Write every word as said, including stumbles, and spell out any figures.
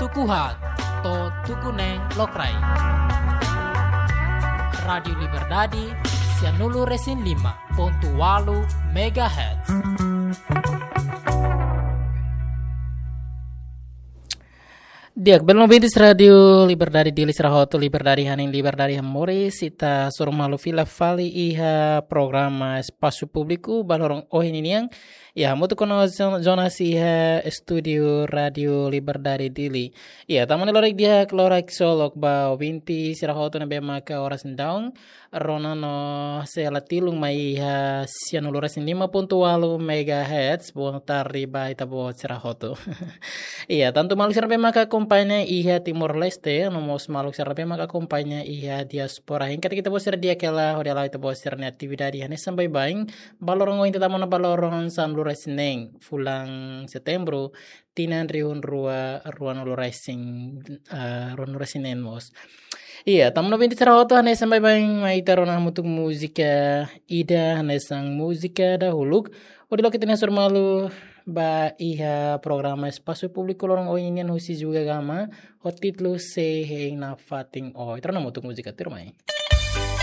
Tuku haat to'o tuku neen lokraik. Rádiu Liberdade, sianulu resin lima pontu ualu megahertz. Di'ak, belun ouvintes Rádiu Liberdade Dili sira hotu, liberdade hanesan liberdade hamoris, ita hasoru malu fila fali iha programa Espasu Públiku ba loron ohin nian. Iha hamutuk ho Jonas iha estúdiu Rádiu Liberdade Dili. Iha, tama ona loron di'ak, loron solok ba ouvinte sira hotu ne'ebé maka oras ne'e daudaun rona no sei la tilun mai iha sianulu resin lima pontu ualu megahertz, boa tarde ba ita-boot sira hotu. Iha, tantu maluk sira ne'ebé maka akompaña iha Timor-Leste, no mós maluk sira ne'ebé maka akompaña iha diáspora. Hein katak ita-boot sira di'ak hela hodi hala'o ita-boot sira-nia atividade hanesan baibain, ba loron ohin, ita tama ona ba loron sanulu resin neen fulan Setembru, tinan rihun rua, ruanulu resin, ah, ruanulu resin neen mós. Iha, tama ona ouvinte sira hotu, hanesan baibain mai ita rona hamutuk múzika ida, hanesan múzika dahuluk, hodi loke ita-nia hasoru malu ba iha programa Espasu Públiku loron ohin nian husi Juga Gama, ho títulu Sei Hein Nafatin. Oh, ita rona hamutuk múzika tuirmai.